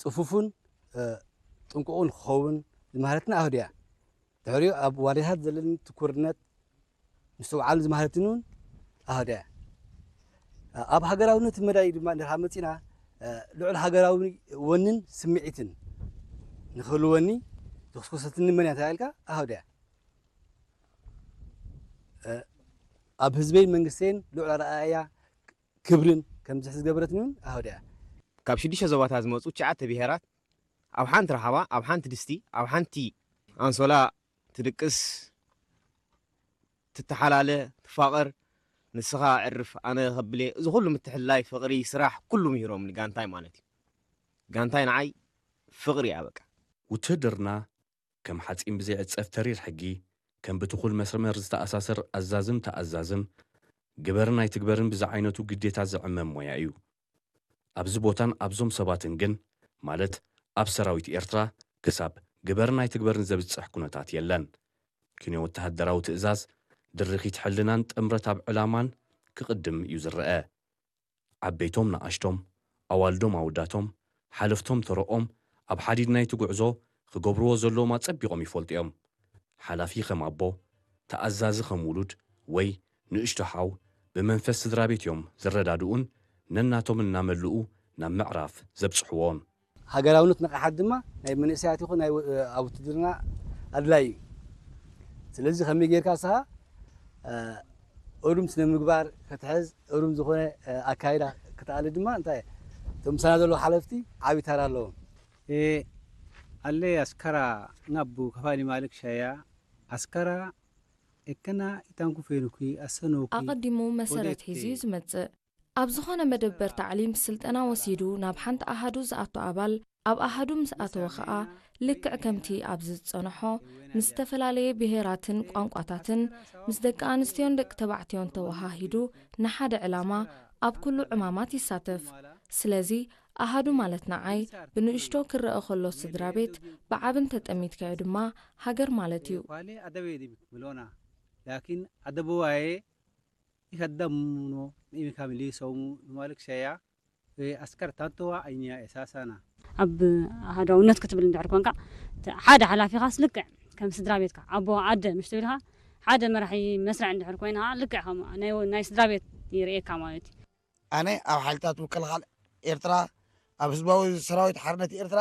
ጽፉፍን ጥንቁቕን ክኸውን ዝማህረትና ኣህድያ ድሕሪኡ ኣብ ዋልያታት ዘለኒ ትኩርነት ምስትውዓል ዝማህረትኒ እውን ኣህድያ። ኣብ ሃገራውነት መዳይ ድማ እንድሕር መፂና ልዑል ሃገራዊ ወንን ስምዒትን ንክህልወኒ ዝኽስኮሰትኒ መን እያ ተባሂልካ ኣህድያ። ኣብ ህዝበይን መንግስተይን ልዑል ኣረኣእያ ክብርን ከም ዝሕዝ ዝገበረትኒ እውን ኣህድያ። ካብ ሽዱሽተ ዞባታት ዝመፁ ትሽዓተ ብሄራት ኣብ ሓንቲ ረሓባ ኣብ ሓንቲ ድስቲ ኣብ ሓንቲ ኣንሶላ ትድቅስ ትተሓላለ ትፋቐር ንስኻ ዕርፍ ኣነ ከብሌ እዚ ኩሉ ምትሕልላይ ፍቕሪ ስራሕ ኩሉ ምሂሮምኒ ጋንታይ ማለት እዩ። ጋንታይ ንዓይ ፍቕሪ እያ በቃ። ውትህድርና ከም ሓጺን ብዘይዕጸፍ ተሪር ሕጊ፣ ከም ብትኹል መስመር ዝተኣሳሰር ኣዛዝም ተኣዛዝም፣ ግበርን ኣይትግበርን ብዝዓይነቱ ግዴታ ዝዕመም ሞያ እዩ። ኣብዚ ቦታን ኣብዞም ሰባትን ግን፣ ማለት ኣብ ሰራዊት ኤርትራ፣ ክሳብ ግበርን ኣይትግበርን ዘብጽሕ ኩነታት የለን። ክንዮ ወተሃደራዊ ትእዛዝ፣ ድርኺት ሕልናን ጥምረት ኣብ ዕላማን ክቕድም እዩ ዝረኣ። ዓበይቶም ንኣሽቶም፣ ኣዋልዶም ኣወዳቶም፣ ሓለፍቶም ተረኦም ኣብ ሓዲድ ናይቲ ጉዕዞ ክገብርዎ ዘለዎም ኣጸቢቖም ይፈልጡ እዮም። ሓላፊ ከም ኣቦ፣ ተኣዛዚ ከም ውሉድ ወይ ንእሽቶ ሓው ብመንፈስ ስድራ ቤት እዮም ዝረዳድኡን ነናቶም እናመልኡ ናብ ምዕራፍ ዘብጽሕዎን። ሃገራውነት ንቕሓት ድማ ናይ መንእሰያት ይኹን ናይ ኣብ ውትድርና ኣድላይ እዩ። ስለዚ ከመይ ጌርካ ንስኻ እሩም ስነ ምግባር ክትሕዝ እሩም ዝኾነ ኣካይዳ ክትኣሊ ድማ እንታይ እቶም ምሳና ዘለዉ ሓለፍቲ ዓብዪ ተራ ኣለዎም። Alle askara ngabbu kafali malik shaya askara ekkana itanku fenuki asanoki ኣቐዲሙ መሰረት ሒዙ እዩ ዝመጽእ። ኣብ ዝኾነ መደበር ታዕሊም ስልጠና ወሲዱ ናብ ሓንቲ ኣሃዱ ዝኣቱ ኣባል፣ ኣብ ኣሃዱ ምስ ኣተወ ኸኣ፣ ልክዕ ከምቲ ኣብዚ ዝጸንሖ፣ ምስ ዝተፈላለየ ብሄራትን ቋንቋታትን፣ ምስ ደቂ ኣንስትዮን ደቂ ተባዕትዮን ተወሃሂዱ ንሓደ ዕላማ ኣብ ኩሉ ዕማማት ይሳተፍ። ስለዚ ኣሃዱ ማለት ንዓይ ብንእሽቶ ክረኣ ከሎ ስድራ ቤት፣ ብዓቢ እንተ ጠሚትካዮ ድማ ሃገር ማለት እዩ። Kwale adabe di milona. Lakin adabe waye ikaddamuno imi kamili somu numalik shaya. Askar tantowa ainya esasana. ኣብ ኣሃዳውነት ክትብል እንድሕር ኮንካ ሓደ ሓላፊኻስ ልክዕ ከም ስድራ ቤትካ ኣቦ ኣደ ምሽ ትብልካ ሓደ መራሒ መስርዕ እንድሕር ኮይንካ ልክዕ ከም ናይ ስድራ ቤት ይርእየካ ማለት እዩ። ኣነ ኣብ ሓይልታት ምክልኻል ኤርትራ ኣብ ህዝባዊ ሰራዊት ሓርነት ኤርትራ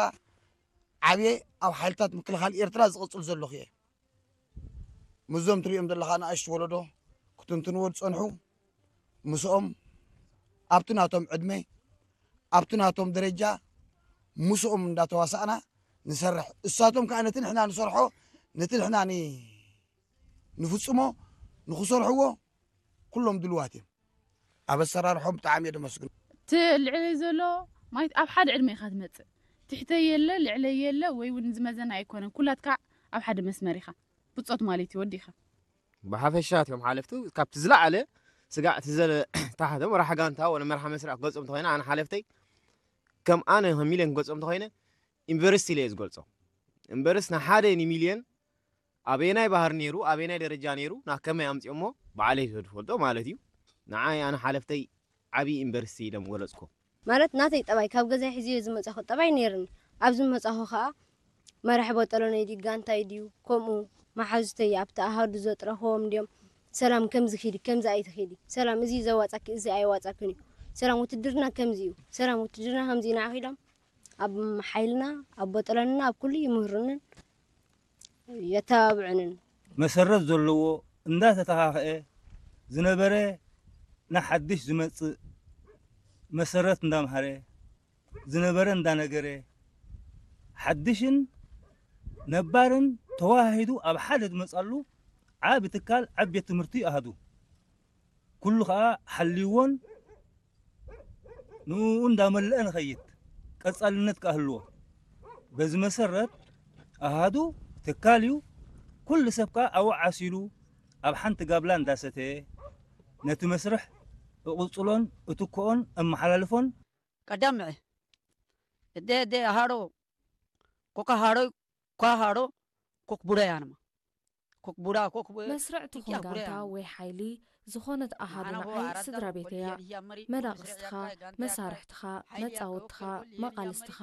ዓብየ ኣብ ሓይልታት ምክልኻል ኤርትራ ዝቕፅል ዘለኹ እየ። ምስዞም ትሪኦም ዘለኻ ንኣሽቱ ወለዶ ክትንትንዎ ዝፀንሑ ምስኦም ኣብቲ ናቶም ዕድመ ኣብቲ ናቶም ደረጃ ምስኦም እንዳተዋሳእና ንሰርሕ። እሳቶም ከዓ ነቲ ንሕና ንሰርሖ ነቲ ንሕና ንፍፅሞ ንክሰርሕዎ ኩሎም ድልዋት እዮም። ኣብ ኣሰራርሖም ብጣዕሚ እየ ደመስግኖ። እቲ ልዕለይ ዘሎ ማለት ኣብ ሓደ ዕድመ ኢኻ ትመጽእ። ትሕተይ የለ ልዕለይ የለ ወይ እውን ዝመዘና ኣይኮነን። ኩላትካ ኣብ ሓደ መስመር ኢኻ። ብጾት ማለት እዩ ወዲኻ። ብሓፈሻ እቲኦም ሓለፍቱ ካብቲ ዝለዓለ ስጋዕ እቲ ዘለ ታሕቶም መራሕ ጋንታ ወለ መራሕ መስርዕ ክገልጾም እንተኾይነ ኣነ ሓለፍተይ ከም ኣነ ከም ሚልዮን ክገልጾም እንተኾይነ ዩኒቨርሲቲ ኢለ እየ ዝገልጾ። እምበርስ ንሓደ ንሚልዮን ኣበየናይ ባህሪ ነይሩ ኣበየናይ ደረጃ ነይሩ ናብ ከመይ ኣምፅኦሞ ባዕለይ ዝፈልጦ ማለት እዩ። ንዓይ ኣነ ሓለፍተይ ዓብዪ ዩኒቨርሲቲ ኢለ ምገለፅኮ። ማለት ናተይ ጠባይ ካብ ገዛይ ሒዘዮ ዝመፃኹ ጠባይ ነይርኒ። ኣብዚ ምመፃኹ ከዓ መራሒ ቦጠሎነይ ድዩ ጋንታይ ድዩ ከምኡ መሓዙተይ ኣብቲ ኣሃዱ ዘጥረኽዎም ድዮም ሰላም ከምዚ ኺዲ ከምዚ ኣይትኺዲ ሰላም እዚ ዘዋፃኪ እዚ ኣየዋፃክን እዩ ሰላም ውትድርና ከምዚ እዩ ሰላም ውትድርና ከምዚ እዩ ንዓኺ ኢሎም ኣብ ሓይልና ኣብ ቦጠሎንና ኣብ ኩሉ ይምህሩንን የተባብዑንን። መሰረት ዘለዎ እንዳተተኻኸአ ዝነበረ ንሓድሽ ዝመፅእ መሰረት እንዳምሃረ ዝነበረ እንዳነገረ ሓድሽን ነባርን ተወሃሂዱ ኣብ ሓደ ዝመፃሉ ዓቢ ትካል ዓቢ ቤት ትምህርቲ ኣሃዱ ኩሉ ከዓ ሓልይዎን ንኡ እንዳመለአ ንኸይድ ቀፃልነት ከዓ ህልዎ። በዚ መሰረት ኣሃዱ ትካል እዩ። ኩሉ ሰብ ከዓ ኣብኡ ዓሲሉ ኣብ ሓንቲ ጋብላ እንዳሰተየ ነቲ መስርሕ እቕፅሎን እትክኦን እመሓላልፎን። ቀዳምዐ እደ እደ ኣሃሮ ኮካ ሃሮ ኳ ሃሮ ኮክ ቡረ ያንማ መስርዕ ትኹን ጋንታ ወይ ሓይሊ ዝኾነት ኣሃዱ ንዓይ ስድራ ቤተይ እያ። መዳቕስትኻ፣ መሳርሕትኻ፣ መጻወትትኻ፣ መቓልስትኻ፣